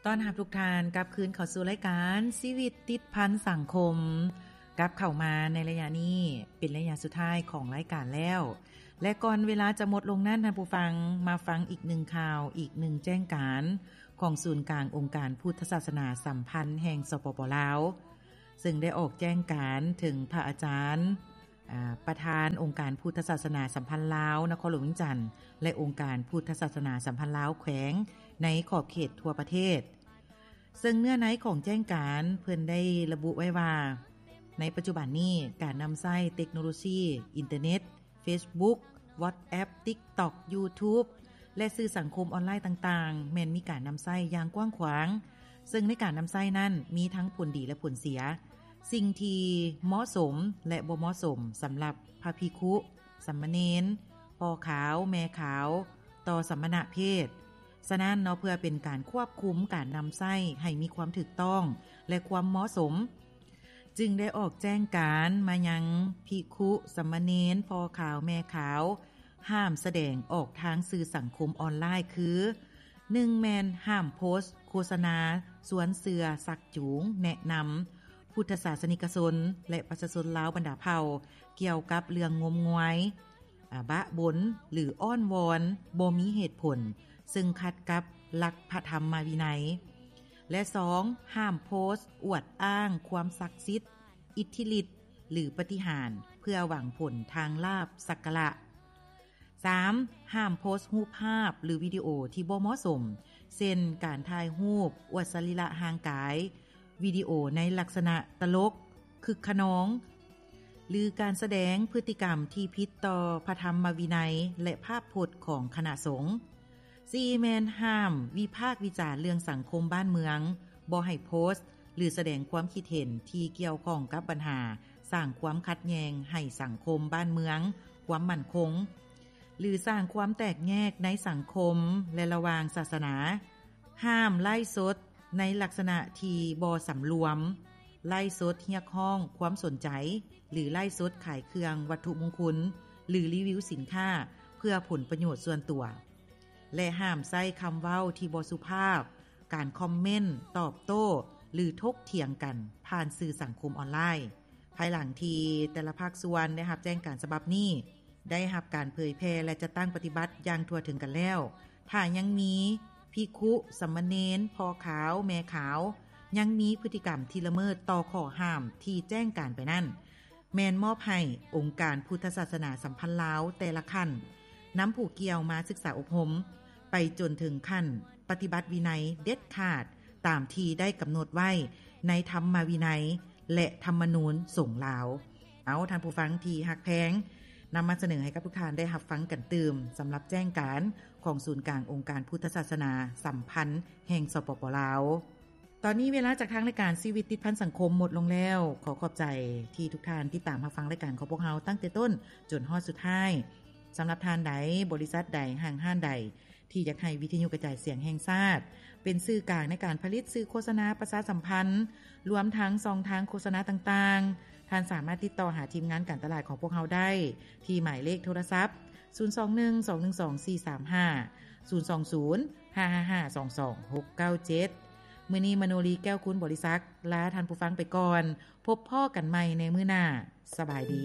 ຕ້ອນຮັບທຸກທ່ານກັບຄືນເຂົ້າສູ່ລາຍການຊີວິດຕິດພັນສັງຄົມ. ກັບເຂົ້າມາໃນໄລຍະນີ້ເປັນໄລຍະສຸດທ້າຍຂອງລາຍການແລ້ວ ແລະ ກ່ອນເວລາຈະໝົດລົງນັ້ນ, ທ່ານຜູ້ຟັງມາຟັງອີກໜຶ່ງຂ່າວ, ອີກໜຶ່ງແຈ້ງການຂອງສູນກາງອົງການພຸດທະສາສະໜາສຳພັນແຫ່ງ ສປປ ລາວ, ເຊິ່ງໄດ້ອອກແຈ້ງການເຖິງພະອາຈານ ອາ ປະທານອົງການພຸດທະສາສະໜາສຳພັນລາວນະຄອນຫຼວງວຽງຈັນ ແລະ ອົງການພຸດທະສາສະໜາສຳພັນລາວແຂວງໃນຂອບເຂດທົ່ວປະເທດ. ເຊິ່ງເນື້ອໃນຂອງແຈ້ງການເພິ່ນໄດ້ລະບຸໄວ້ວ່າ ໃນປັດຈຸບັນນີ້ ການນຳໃຊ້ເຕັກໂນໂລຊີ, ອິນເຕີເນັດ, ເຟສບຸກ, ວັອດແອັບ, ຕິກຕັອກ, ຢູທູບ ແລະ ສື່ສັງຄົມອອນລາຍຕ່າງໆ ແມ່ນມີການນຳໃຊ້ຢ່າງກວ້າງຂວາງ, ເຊິ່ງໃນການນຳໃຊ້ນັ້ນມີທັງຜົນດີ ແລະ ຜົນເສຍ. ສິ່ງທີ່ເໝາະສົມ ແລະ ບໍ່ເໝາະສົມສຳລັບພະພິກຂຸ, ສາມະເນນ, ພໍ່ຂາວ, ແມ່ຂາວ ຕໍ່ສະມະນະເພດ. ສະນັ້ນເນາະ, ເພື່ອເປັນການຄວບຄຸມການນຳໃຊ້ໃຫ້ມີຄວາມຖືກຕ້ອງ ແລະ ຄວາມເໝາະສົມ, ຈຶ່ງໄດ້ອອກແຈ້ງການມາຍັງພິກຂຸ, ສາມະເນນ, ພໍ່ຂາວ, ແມ່ຂາວ ຫ້າມສະແດງອອກທາງສື່ສັງຄົມອອນລາຍ ຄື ໜຶ່ງ ແມ່ນຫ້າມໂພສໂຄສະນາຊວນເຊື່ອ, ຊັກຈູງ, ແນະນຳພຸດທະສາສະນິກະຊົນ ແລະ ປະຊາຊົນລາວບັນດາເຜົ່າ ກ່ຽວກັບເລື່ອງງົມງວາຍ, ອາ, ບະບົນ ຫຼື ອ້ອນວອນບໍ່ມີເຫດຜົນ ເຊິ່ງຂັດກັບຫຼັກພະທຳມະວິໄນ ແລະ ສອງ ຫ້າມໂພສອວດອ້າງຄວາມສັກສິດ, ອິດທິລິດ ຫຼື ປາຕິຫານ ເພື່ອຫວັງຜົນທາງລາບສັກກາລະ. ສາມ ຫ້າມໂພສຮູບພາບ ຫຼື ວິດີໂອທີ່ບໍ່ເໝາະສົມ ເຊັ່ນ ການຖ່າຍຮູບອວດສະລີລະຮ່າງກາຍ, ວິດີໂອໃນລັກສະນະຕະຫຼົກ, ຄຶກຂະນອງ ຫຼື ການສະແດງພຶດຕິກຳທີ່ຜິດຕໍ່ພະທຳມະວິໄນ ແລະ ພາບພົດຂອງຄະນະສົງ. ສີ່ ແມ່ນຫ້າມວິພາກວິຈານເລື່ອງສັງຄົມບ້ານເມືອງ, ບໍ່ໃຫ້ໂພສ ຫຼື ສະແດງຄວາມຄິດເຫັນທີ່ກ່ຽວຂ້ອງກັບບັນຫາສ້າງຄວາມຂັດແຍ່ງໃຫ້ສັງຄົມບ້ານເມືອງ, ຄວາມໝັ້ນຄົງ ຫຼື ສ້າງຄວາມແຕກແຍກໃນສັງຄົມ ແລະ ລະຫວ່າງສາສະໜາ. ຫ້າມໄລຟ໌ສົດໃນລັກສະນະທີ່ບໍ່ສຳລວມ, ໄລຟ໌ສົດຮຽກຮ້ອງຄວາມສົນໃຈ ຫຼື ໄລຟ໌ສົດຂາຍເຄື່ອງວັດຖຸມຸງຄຸນ ຫຼື ຣີວິວສິນຄ້າເພື່ອຜົນປະໂຫຍດສ່ວນຕົວ ແລະ ຫ້າມໃຊ້ຄຳເວົ້າທີ່ບໍ່ສຸພາບ, ການຄອມເມັນ, ຕອບໂຕ້ ຫຼື ຖົກຖຽງກັນຜ່ານສື່ສັງຄົມອອນລາຍ. ພາຍຫຼັງທີ່ແຕ່ລະພາກສ່ວນໄດ້ຮັບແຈ້ງການສະບັບນີ້ ໄດ້ຮັບການເຜີຍແຜ່ ແລະ ຈັດຕັ້ງປະຕິບັດຢ່າງທົ່ວເຖິງກັນແລ້ວ, ຖ້າຍັງມີພິກຂຸ, ສາມະເນນ, ພໍ່ຂາວ, ແມ່ຂາວ ຍັງມີພຶດຕິກຳທີ່ລະເມີດຕໍ່ຂໍ້ຫ້າມທີ່ແຈ້ງການໄປນັ້ນ, ແມ່ນມອບໃຫ້ອົງການພຸດທະສາສະໜາສຳພັນລາວແຕ່ລະຂັ້ນ ນຳຜູ້ກ່ຽວມາສຶກສາອົບຮົມ ໄປຈົນເຖິງຂັ້ນປະຕິບັດວິໄນເດັດຂາດ ຕາມທີ່ໄດ້ກຳນົດໄວ້ໃນທຳມະວິໄນ ແລະ ທຳມະນູນສົງລາວ. ເອົາ, ທ່ານຜູ້ຟັງທີ່ຮັກແພງ, ນຳມາສະເໜີໃຫ້ກັບທຸກທ່ານໄດ້ຮັບຟັງກັນຕື່ມ ສຳລັບແຈ້ງການຂອງສູນກາງອົງການພຸດທະສາສະໜາສຳພັນແຫ່ງ ສປປ ລາວ. ຕອນນີ້ເວລາຈາກທາງລາຍການຊີວິດຕິດພັນສັງຄົມໝົດລົງແລ້ວ. ຂໍຂອບໃຈທີ່ທຸກທ່ານຕິດຕາມຮັບຟັງລາຍການຂອງພວກເຮົາຕັ້ງແຕ່ຕົ້ນຈົນຮອດສຸດທ້າຍ. ສຳລັບທ່ານໃດ, ບໍລິສັດໃດ, ຫ້າງຮ້ານໃດ ທີ່ຢາກໃຫ້ວິທະຍຸກະຈາຍສຽງແຫ່ງຊາດເປັນສື່ກາງໃນການຜະລິດສື່ໂຄສະນາປະຊາສຳພັນ, ລວມທັງຊ່ອງທາງໂຄສະນາຕ່າງໆ, ທ່ານສາມາດຕິດຕໍ່ຫາທີມງານການຕະຫຼາດຂອງພວກເຮົາໄດ້ທີ່ໝາຍເລກໂທລະສັບ ສູນສອງໜຶ່ງ ສອງໜຶ່ງສອງ ສີ່ສາມຫ້າ, ສູນສອງສູນ ຫ້າຫ້າຫ້າ ສອງສອງ ຫົກເກົ້າເຈັດ. ມື້ນີ້ ມະໂນລີ ແກ້ວຄູນບໍລິສັກ ລາທ່ານຜູ້ຟັງໄປກ່ອນ. ພົບພໍ້ກັນໃໝ່ໃນມື້ໜ້າ. ສະບາຍດີ.